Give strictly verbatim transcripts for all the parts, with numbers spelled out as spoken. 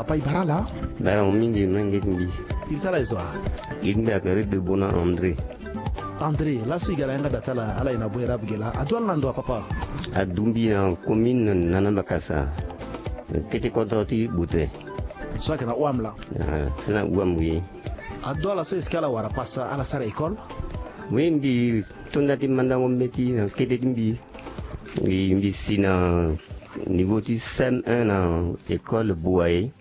Papa, e bara ala? Bara mo mingi, menge ti mbi. Iri ti ala e zo wa? Iri ti mbi ayeke Redebona André. André, laso e ga na yanga da ti ala, ala e na Boerab ge laa. Ado ala na ndo wa, papa? Adu mbi na commune Nana Bakasa, kete kodro ti Bote. So ayeke na Ouam laa? Ah, so na Ouam, oui. Ado ala so, est-ce que ala wara passe, ala sara école? Oui, mbi to nda ti mandango mbeti na kete ti mbi. Mbi, mbi si na niveau ti C M un na école Boaye.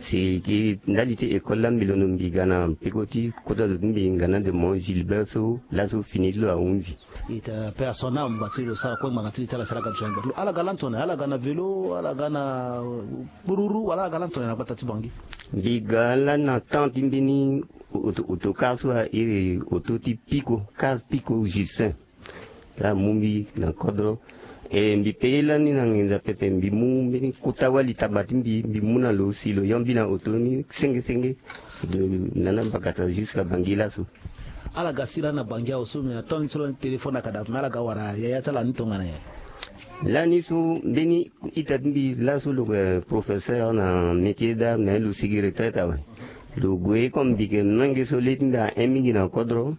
Si gi ndali ti école laa mbi londo, mbi ga na peko ti kota zo ti mbi, ngana de mo Gilbert so, laso fini ti lo ahunzi. Ita pe asona mo gba ti lo sara kue ngbanga ti li ti ala sara ga biso. Ala ga lani tongana, ala ga na vélo, ala ga na, euh, kpururu, wala ala ga lani tongana na gbata ti Bangui? Mbi ga lani na temps ti mbeni auto-, autocar so a iri auto ti Pico, car Pico Justin. Laa amu mbi na kodro. E mbi payé lani na nginza pepe, mbi mu mbeni kota wali taba ti mbi, mbi mu na lo si lo yambi na auto ni senge senge, de Nana Bakasa jusqu'à Bangui laso. Ala ga si lani na Bangui awe so, me na temps ni so lani téléphone ayeke daa, me ala ga wara yaya ti ala ni tongana nyen? Lani so mbeni ita ti mbi laso lo yeke professeur na métier d'art, me lo sigi retraite awe. Lo gue comme mbi yeke menge so le ti mbi ahon mingi na kodro.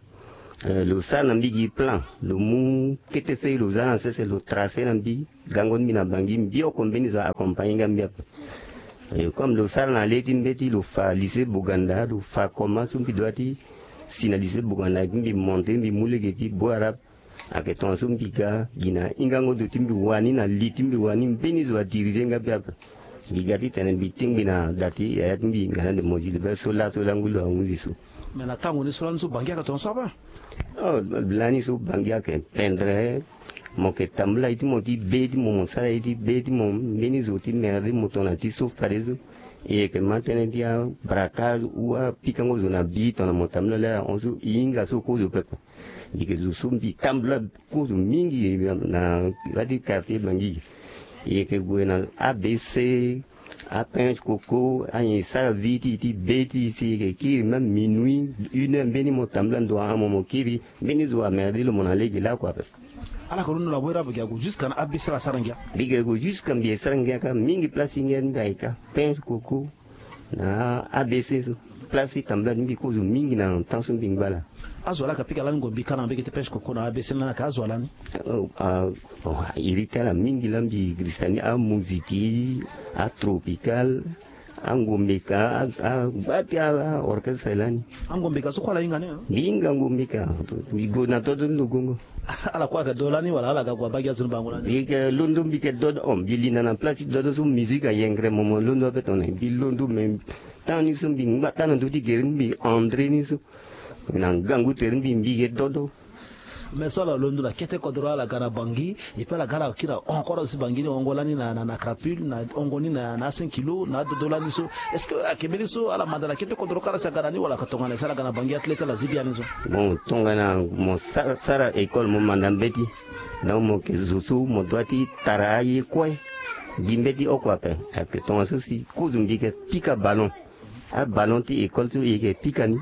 Eh, lo sara na mbi gi plan, lo mu kete feuille lo za na sese, lo tracé na mbi, gango ti mbi na Bangui, mbi oko mbeni zo accompagné nga mbi ape. Eh, comme lo sara na le ti mbeti, lo fa lycée Boganda, lo fa comment so mbi doit ti si na lycée Boganda, mbi monté, mbi mu lege ti Boarab. Ayeke tongaso mbi ga gi na hingango ndo ti mbi wani, na li ti mbi wani, mbeni zo adirigé nga mbi ape. Mbi ga titene mbi tingbi na da ti yaya ti mbi, ngana de mo Gilbert so laso langu lo ahunzi so. Me na tango ni so lani so Bangui ayeke tongaso ape? Oh, lani so Bangui ayeke pendre. Mo yeke tambula ye ti mo ti be ti mo, mo sara ye ti be ti mo, mbeni zo ti merde mo tongana ti so fadeso. E yeke ma tënë ti abraquage ou apikango zo na bi tongana mo tambula lere ahon so, e hinga so kozo pepe. Mbi yeke zo so mbi tambula kozo mingi na ya ti quartier Bangui. E yeke gue na A B C, apinche coco, anyen e sara vie ti e ti be ti e si e yeke kiri même minuit, une heure mbeni mo tambula ndo ahon mo, mo kiri, mbeni zo amerde lo mo na lege lakue ape. Ala yeke londo na Boerab ge ague jusqu'à na A B C ala sara ngia? Mbi yeke gue jusqu'à mbi e sara ngia kâ, mingi place ti ngia ti mbi ayeke kâ, pinche coco, na A B C so, place ti tambula ti mbi kozo mingi na temps so mbi ngba laa. Azo wa laa ayeke pika lani ngombi kâ na mbege ti pinche coco na A B C lani, ayeke azo wa lani? Oh, ah, oh, iri ti ala mingi laa mbi girisa ni, amuziki, atropical, angombe ka, a, a, ngba ti a, a orchestre lani. Angombe ka so kue ala hinga ni, hein? Mbi hinga ngombe ka, mbi gue na dodo ni lo gongo. Ala kue ayeke do lani wala ala ga gue abaa gi azo ni bango lani? Mbi yeke londo, mbi yeke dodo, oh, mbi linda na place ti dodo so musique ayengre mo, mo londo ape tongana mbi londo, me temps ni so mbi ngba tâ na ndö ti gere ni, mbi André ni so. Na ngangu tere ni mbi, mbi yeke dodo. Me so ala londo na kete kodro, ala ga na Bangui, et puis ala ga ala kiri ahon kue azo ti Bangui ni, hongo lani na, na, na crapule, na hongo ni na, na cinq kilos, na adodo lani so. Est-ce que ayeke mbeni so ala manda na kete kodro kâ ala si aga na ni wala ayeke tongana si ala ga na Bangui atënë ti ala zi biani so? Bon, tongana mo sa-, sara école mo manda mbeti, donc mo yeke zo so mo doit ti tara aye kue gi mbeti oko ape. Ayeke tongaso si kozo mbi yeke pika ballon. Aballon ti école so e yeke pika ni,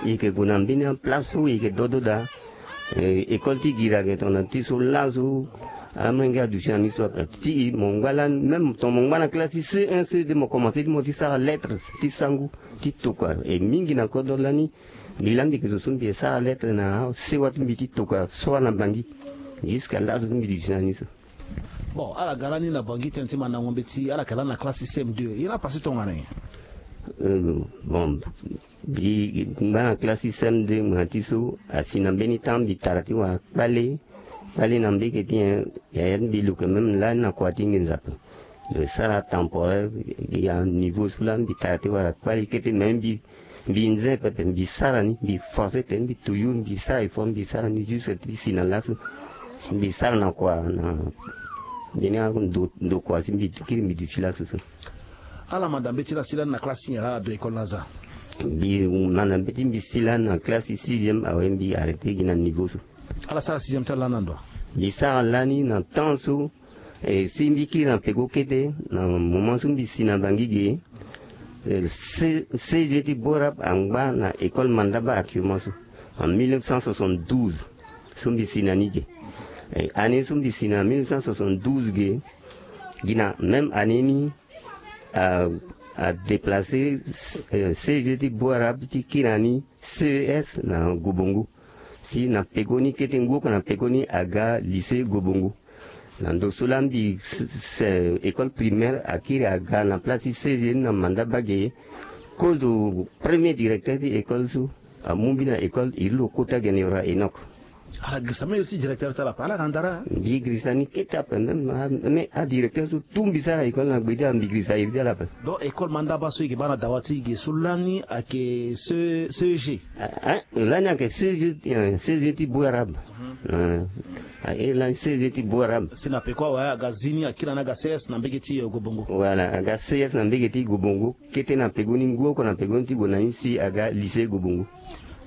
e yeke gue na mbeni aplace so e yeke dodo daa. Eh, école ti gira ayeke tongana ti so laso, amolenge aduti na ni so ape. Ti e mo ngba lani, même tongana mo ngba na classe ti C un, C deux, mo commencé ti mo ti sara lettres ti sango ti tokua. E mingi na kodro lani, mbi laa mbi yeke zo so mbi yeke sara lettres na asewa ti mbi ti tokua so ana Bangui. Jusqu'à laso so mbi duti na ni so. Bon, ala ga lani na Bangui tënë ti mandango mbeti, ala yeke lani na classe ti C M deux. E na pase tongana nyen? Euh, bon, mbi ngba na classe ti C M deux, ngbanga ti so asi na mbeni temps mbi tara ti wara kpale. Kpale na mbege ti nyen, yaya ti mbi lo yeke même lani na kua ti nginza ape. Lo sara temporaire, ya niveau so laa mbi tara ti wara kpale kete, me mbi Mbi nze pepe, mbi sara ni, mbi forcé tene mbi toujours mbi sara effort, mbi sara ni jusque ti si na laso. Mbi sara na kua na mbeni ando, ndokua si mbi kiri mbi duti laso so. Ala manda mbeti la si lani na classe ti nyen laa ala do école laa za? Mbi manda mbeti mbi si lani na classe ti sixième, awe mbi arrêté gi na niveau so. Ala sara sixième ti ala lani na ndo wa? Mbi sara lani na temps so. E, si mbi kiri na peko kete, na moment so mbi si na Bangui ge, e, C-, C G ti Borab angba na école Mandaba actuellement so, en mille neuf cent soixante-douze, so mbi si na ni ge. E, année so mbi si na mille neuf cent soixante-douze ge, gi na même année ni, a, adeplace, eh, C G ti Beau Arabe ti kiri na ni C E S na Gobongo. Si na pekoni kete ngu oko na pekoni aga lycée Gobongo. Na ndo so laa mbi s- s- école primaire akiri aga na place ti C G ni na manda bage. Kozo premier directeur ti école so amu mbi na école iri lo kota gene ora Enoch. Ala girisa même iri ti directeur ti ala ape ala na ndara. Mbi girisa ni kete ape même a- même adirecteur so tu mbi sara école na gbe ti ala mbi girisa iri ti ala ape. Donc école mandaba so e yeke baa na dawa ti e ge so lani ayeke ce ce g. Ah, ah, lani ayeke ce g, eh, ce g ti Beau Arabe. Ah, eh, lani ce g ti Beau Arabe. Si na peko awe aga zi ni akiri na ni aga C S na mbege ti, eh, Gobongo. Voilà, aga C S na mbege ti Gobongo. Kete na pegoni ngu oko na pegoni ti gue na ni si aga lycée Gobongo.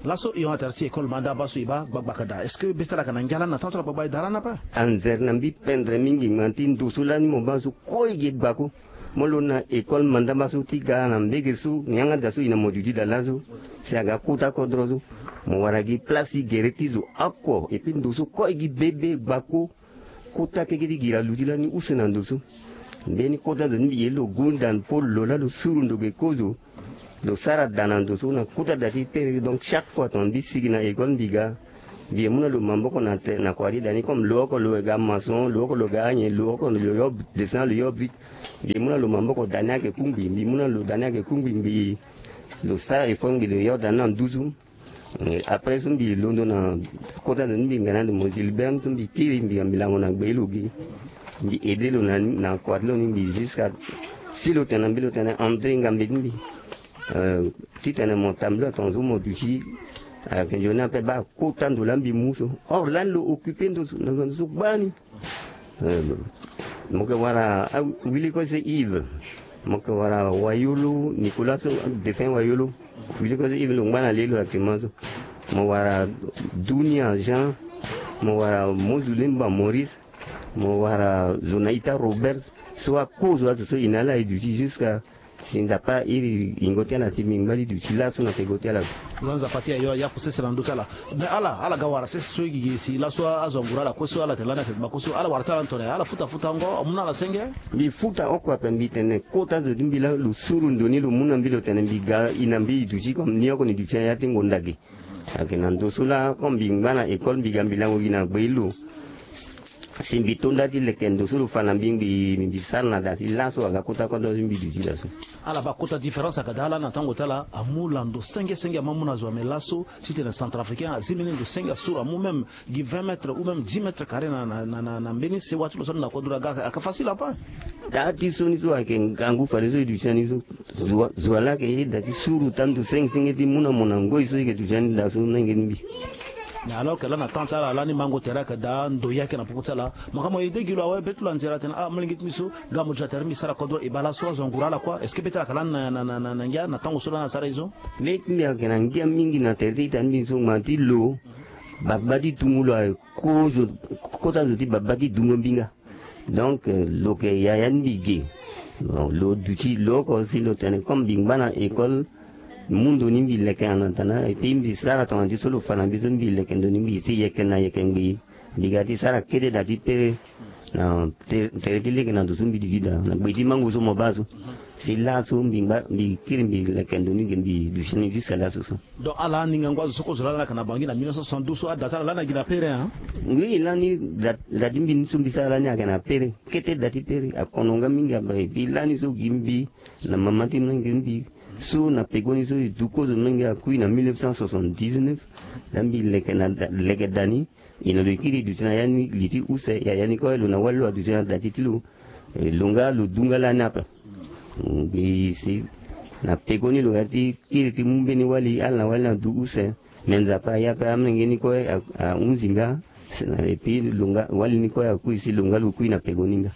Laso e hon na tere ti école mandaba so e baa gbagba ka daa. Est-ce que be ti ala ayeke na ngia lani na temps ti ala gbagba e daa lani ape? Anzere na mbi pendre mingi ngbanga ti ndo so lani mo baa so kue e ge gbako. Mo lo na école mandaba so ti ga na mbege so yanga daa so e na mo duti daa laso. Si aga kota kodro so mo wara gi place ti gere ti zo oko. Et puis ndo so kue e gi bebe gbako. Kota keke ti gira luti lani use na ndo so. Mbeni kota zo ni mbi ye lo gunda po lo laa lo suru ndo ge kozo. Lo sara daa na ndo so na kota daa ti pere. Donc chaque fois tongana mbi sigi na école mbi ga, mbi ye mu na lo maboko na te na kua ti daa ni comme lo oko lo ga maçon, lo oko lo ga anyen, lo oko lo yo dessin, lo yo brique. Mbi ye mu na lo maboko daa ni ayeke kungbi, mbi mu na lo daa ni ayeke kungbi ngbii. Lo sara effort ngbii lo yo daa ni na nduzu. Eh, après so mbi londo na kota ndo ni mbi ga na ndo mo Gilbert so mbi kiri mbi ga mbi lango na gbe lo ge. Mbi aide lo na, na kua ti lo ni mbi jusqu'à si lo tene na mbi lo tene André ngambe ti mbi. Euh, titene mo tambula tongaso mo duti ayeke nzoni ape baa kota ndo laa mbi mu so. Or lani lo occupe ndo so na ndo so gbani. Euh, mo yeke wara ah, wili kue se Yves. Mo yeke wara Wayolo Nicolas so, défunt Wayolo. Wili kue se Yves lo ngba na leli lo actuellement so. Mo wara Dunia Jean. Mo wara Mozulemba Maurice. Mo wara Zonaita Robert. So akozo azo so e na ala e duti jusqu'à si Nzapa iri yingo ti ala si mbi ngba ti duti laso na peko ti ala. Nzapa ti ayo aya kusese na ndö ti ala. Mais ala ala ga wara sese so e gigi si laso azo angura ala kue so ala tene lani ayeke gbako so ala wara ti ala na tongana ala futa futango amu na ala senge. Mbi futa oko ape mbi tene kota zo ti mbi laa lo suru ndo ni lo mu na mbi lo tene mbi ga e na mbi e duti comme ni oko ni duti na ya ti ngonda ge. Ayeke na ndo so laa comme mbi ngba na école mbi ga mbi lango gi na gbe ti lo. Si mbi to nda ti leke ndo so lo fa na mbi ngbii mbi sara na daa ti laso aga kota kodro ti mbi duti daa so. Ala baa kota différence ayeke daa lani na tango ti ala amu lando senge senge ama mu na zo ame laso titene centrafricain azi mbeni ndo senge asuru amu même gi vingt mètres ou même dix mètres carrés na na na na mbeni sewa ti lo so na kodro aga ayeke facile apa. Daa ti so ni so ayeke ngangu fadeso e duti na ni so. Zo wa- zo wa laa ayeke ye daa ti suru tandu senge senge ti mu na mo na ngoi so e yeke duti na ni daa so na nge ni mbi. Mais alors que lani na temps ti ala lani mango tere ayeke daa ndo ye ayeke na popo ti ala. Mo ka mo aide gi lo awe be ti lo anzere atene ah molenge ti mbi so ga mo duti na tere ti mbi sara kodro e baa laso azo angura ala kua. Est-ce que be ti ala ayeke lani na na na na ngia na tango so lani asara ye so? Be ti mbi ayeke na ngia mingi na tere ti ita ti mbi so ngbanga ti lo. Babâ ti tungu lo aye kozo kota zo ti babâ ti dungo mbi nga. Donc euh, lo yeke yaya ti mbi ge. Bon, lo duti lo oko si lo tene comme mbi ngba na école. Mu ndo ni mbi leke en attendant et puis mbi sara tongana ti so lo fa na mbi so mbi leke ndo ni mbi si yeke na yeke ngbii. Mbi ga ti sara kete daa ti pere na te- tere ti lege na ndo so mbi duti daa na gbe ti mango so mo baa so. Si laso mbi ngba mbi kiri mbi leke ndo ni ge mbi duti ni jusqu'à laso so. Donc ala ni ngangu azo so kozo lani ayeke na bangi na mille neuf cent soixante-douze so ada ti ala lani ayeke na pere hein. Oui lani da- da ti mbi ni so mbi sara lani ayeke na pere. Kete da ti pere akono nga mingi ape et puis lani so gi mbi na mama ti menge mbi so na pekoni so e du kozo menge akui na mille neuf cent soixante-dix-neuf. Laa mbi leke na da- leke da ni. E na lo e kiri e duti na ya ni li ti use yaya ni kue lo na wali lo aduti na da ti ti lo. Eh, lo nga lo du nga lani ape. Mbi si na pekoni lo ya ti kiri ti mu mbeni wali ala na wali ni adu use. Me Nzapa aye ape amolenge ni kue a- ahunzi nga. Et puis lo nga wali ni kue akui si lo nga lo kui na pekoni nga.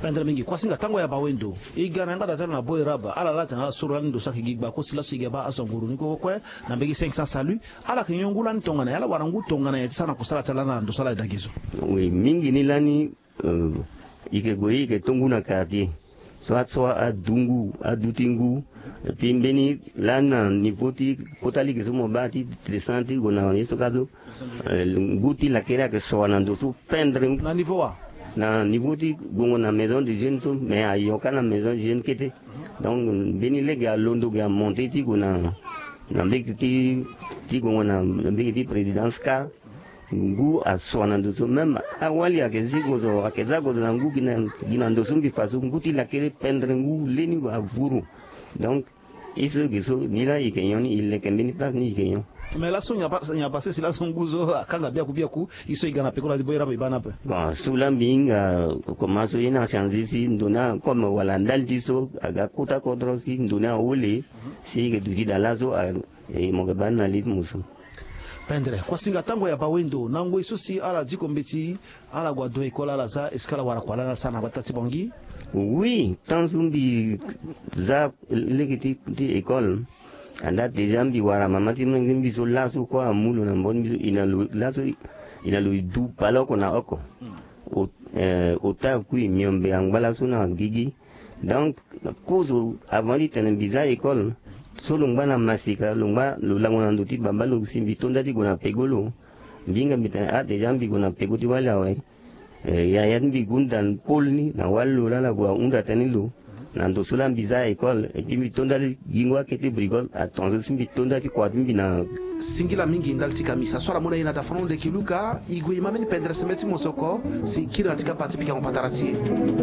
Pendre mingi kuasinga tango ya bawendo e ga na yanga da ti ala na Beau Arabe ala laa atene ala soro lani ndo so ayeke gi gbako si laso e ga baa azo nguru ni kue kue na mbege cinq cents salut. Ala yeke nyon ngu lani tongana ya ala wara ngu tongana ya ti sara na kusala ti ala na ndo so ala daa ge so. Oui mingi ni lani. Euh, e yeke gue e yeke to ngu na quartier so a so adu ngu adu ti ngu. Et puis mbeni lani na niveau ti kota lege so mo baa ti descend ti gue na ye so ka so. Euh, ngu ti lakere ayeke soa na ndo so pendre. Na niveau wa? Na niveau ti gongo na maison de jeune so mais ayo ka na maison de jeune kete. Donc mbeni lege alondo ge amonte ti gue na na mbege ti ti gongo na mbege ti présidence ka. Ngu asua na ndo so même awali ayeke zi gozo ayeke za gozo na ngu gi na gi na ndo so mbi fa so ngu ti lakere pendre ngu leni avuru. Donc e so ge so ni laa e yeke nyon ni e leke mbeni place ni e yeke nyon. Mais laso nyen pas nyen pas si laso ngu so akanga biaku biaku e so e ga na peko laa ti bo e raba e baa ni ape. Bon so laa mbi hinga koma so ye ni achanger si ndo ni akomme wala ndali ti so aga kota kodro si ndo ni ahole. Si e yeke duti daa laso a e mo yeke baa ni na li ti mo so. Pendre kuasinga tango ya bawendo na ngoi so si ala diko mbeti ala gue ado école ala za est-ce que ala wara kua lani ala sara na gbata ti bangi? Oui, tant so mbi za lege ti ti école. Andaa déjà mbi wara mama ti menge ti mbi so laso kue amu lo na mbo ti mbi so e na lo laso e na lo e du baleoko na oko. Ota akui miombe angba laso na gigi. Donc kozo avant ti tene mbi za école so lo ngba na masika lo ngba lo lango na ndo ti baba lo si mbi to nda ti gue na pego lo. Mbi hinga mbi tene ah déjà mbi gue na pego ti wali awe. Yaya ti mbi gunda pole ni na wali lo laa ala gue ahunda tënë ni lo. Na ndo so laa mbi za école et puis mbi to nda ti gingo akete brigole atonzo si mbi to nda ti kua ti mbi na. Singila mingi ndali ti kamisa so ala mu na e na dafono leke luka e gue e ma mbeni pendere sembe ti mosoko si e kiri na ti kapa ti pikango patara ti e.